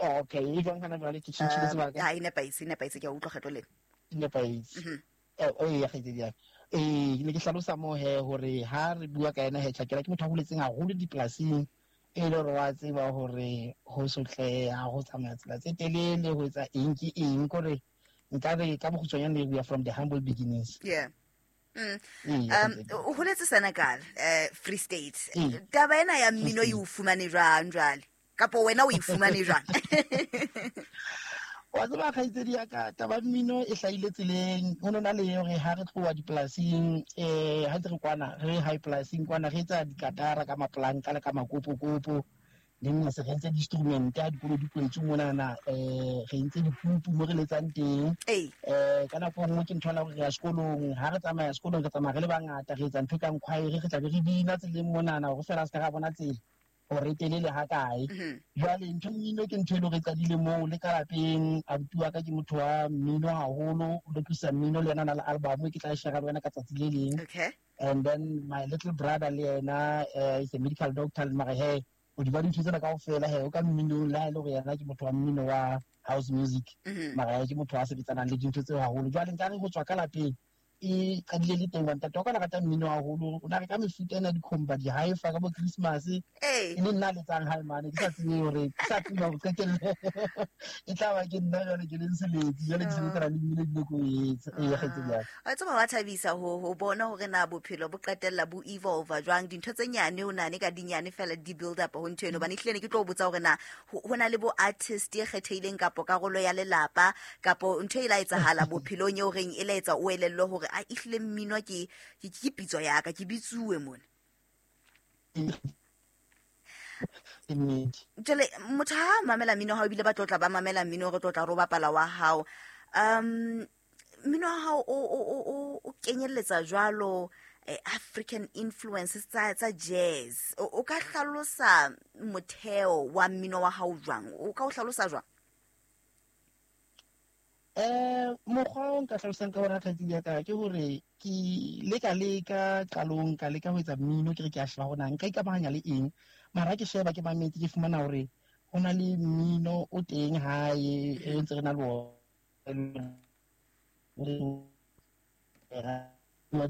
Okay, e jwang hana jwale? Ke tjhentjhile sebaka. Ha e nepahetse, e nepahetse, ke a utlwa kgetlo lena. E nepahetse. Ee, kgaitsedi ya ka. Ee, ke ne ke hlalosa moo he hore ha re bua ka ena he, Tjhakela ke motho a holetseng haholo dipolasing, e le hore wa tseba hore ho sotleha, ho tsamaya tsela tse telele, ho etsa eng ke eng, kore nka re ka bokgutshwanyane we are from the humble beginnings. Yeah. Ee, kgaitsedi. O holetse Senekal, Free State. Ee. Taba ena ya mmino e o fumane jwang jwale? Kapo wena o e fumane jwang? Wa tseba, kgaitsedi ya ka, taba mmino e hlahile tseleng. Ho no na le hore ha re tloha dipolasing, ha ntse re kwana re high polasing kwana, re etsa dikatara ka mapolanka le ka makopokopo. Le nna se re entse di-instrument ha dikolo di kwetswe monana, re entse dikupu mo re letsang teng. Ka nako e nngwe ke ntho ya hore re ya sekolong, ha re tsamaya sekolong re tsamaya re le bangata, re etsa ntho e kang choir, re tla be re bina tseleng monana hore feela se ka ra bona tsela hore e telele ha kae. Jwale ntho mmino ke ntho e leng hore e qadile moo le ka lapeng. Abuti wa ka ke motho wa mmino haholo, o lokisa mmino, le yena o na le album e ke tla e share le wena ka tsatsi le leng. And then my little brother le yena, is a medical doctor, mara he hodima dintho tsena kaofela he o ka mminong, le ha e le hore yena ke motho wa mmino wa house music, mara he ke motho a sebetsanang le dintho tseo haholo. Jwale nkare ho tswa ka lapeng e qadile le teng. Ntate wa ka o na rata mmino haholo, o na reka mefuta ena dikhomba, di-hi-fi ka bo Christmas, e le nna a letsang hae mane. Ke sa tsebe hore, ke sa tsebe hore qetelle e tla ba ke nna jwale ke leng seletsi, jwale ke sebetsana le mmino ebile ke o etsa. Ee, kgaitsedi ya ka. Wa tseba, wa thabisa ho bona hore na bophelo bo qetella bo evolve jwang. Dintho tse nyane o nane ka dinyane fela di build up ho ntho eno. Hobane ehlile ne ke tlo o botsa hore na ho na le bo artist e kgethehileng kapo karolo ya lelapa kapo ntho e la etsahala bophelong eo reng e la etsa o elellwe hore a ehlile mmino ke pitso ya ka, ke bitsuwe mona. Ke nnete. Jwale motho ha a mamela mmino wa hao, ebile ba tlotla ba mamela mmino, re tlotla re o bapala wa hao, mmino wa hao o kenyelletsa jwalo African influences tsa jazz. O ka hlalosa motheo wa mmino wa hao jwang? O ka o hlalosa jwang? Mokgwa o nka hlalosang ka ona, kgaitsedi ya ka, ke hore ke leka qalong ka leka ho etsa mmino, ke re ke a sheba hore na nka ikamahanya le eng. Mara ha ke sheba, ke mametse, ke fumana hore ho na le mmino o teng hae e ntse re na le ona wa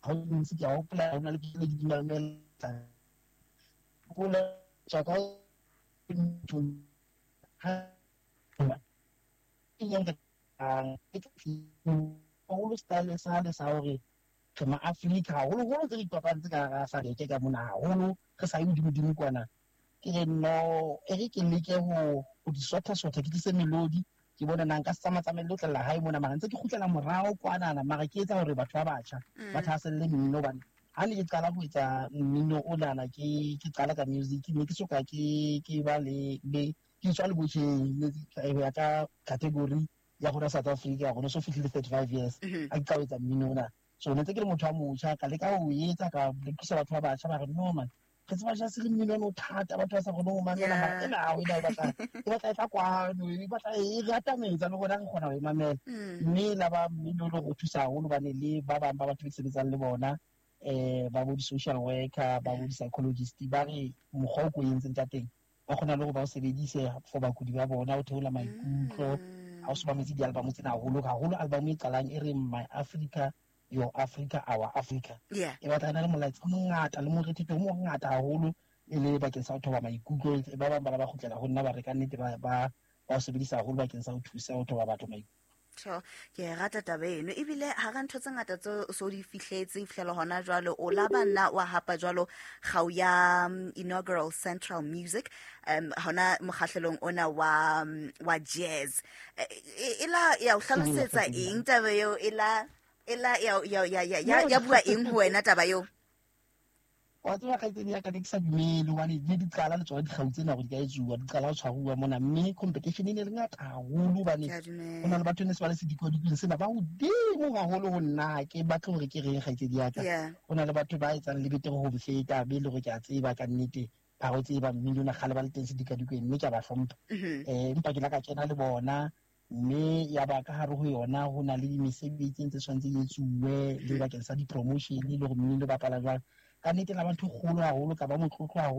ha o ntse ke a hopola ho na le pina ke di mamela, hopola tswa ka ntho ha e yang haholo style sa le sa hore re ma-Afrika haholoholo tse re ikopantse ka hara SADC ka mona haholo, re sa ye hodimo-dimo kwana. Ke re no, e re ke leke ho di sotha-sotha, ke tlise melodi, ke bone na nka se tsamaya-tsamaye le ho tlella hae mona, mara ntse ke kgutlela morao kwanana, mara ke etsa hore batho ba batjha ba thahaselle mmino. Hobane ha ne ke qala ho etsa mmino onana, ke qala ka music, ne ke soka ke ba le ke tswa le botjheng ho ya ka category ya rona South Africa, gore no so fihlile 35 years a ke qala ho etsa mmino ona. So ne ntse ke le motho a motjha, ka leka ho etsa, ka lekisa batho ba batjha, ba re no man, re tseba jazz le mmino ono o thata, batho ba sa kgone ho mamela, mara ena ha ena e batla e tla kwano, e batla e re atametsa le rona re kgona ho e mamela. Mme la ba mmino o le go thusa haholo, hobane le ba bang ba batho be ke sebetsang le bona, ba bo di-social worker, ba bo di-psychologist, ba re mokgwa o ko entseng ka teng ba kgona le hore ba o sebedise for bakudi ba bona ho theola maikutlo. Ha o so mametse di-album tsena haholo haholo, album e qalang e reng My Africa, Your Africa, Our Africa, e batla e na le molaetsa o mongata le morethetho o mongata haholo, e le bakeng sa ho thoba maikutlo. Ba bang ba ba kgutlela ho nna, ba re ka nnete ba o sebedisa haholo bakeng sa ho thusa ho thoba batho maikutlo. Tjho, ke e rata taba eno. Ebile hara ntho tse ngata tse o so di fihletse ho fihlela hona jwale, o la ba nna wa hapa jwalo kgau ya inaugural Central Music hona mokgahlelong ona wa jazz. E la ya o hlalosetsa eng taba eo? E la ya bua eng ho wena taba eo? Wa tseba, kgaitsedi ya ka, ne ke sa dumele, hobane di di qala le tsona dikgau tsena hore di ka etsuwa, di qala ho tshwaruwa mona, mme competition e ne le ngata haholo, hobane Ke a dumela. Ho na le batho ne se ba le sedikodikweng sena ba hodimo haholo ho nna. Ha ke batle hore ke reng, kgaitsedi ya ka, ho na le batho ba etsang le betere ho mfeta, be le hore ke a tseba ka nnete ba go tseba mmino ona kgale ba le teng sedikadikweng, mme ke a ba hlompha. Empa ke la ka kena le bona, mme ya ba ka hare ho yona ho na le mesebetsi e ntse tshwanetse e etsuwe le bakeng sa di-promotion le hore mmino o bapala jwang. Ka nnete la ba ntho e kgolo haholo, ka ba motlotlo haholo.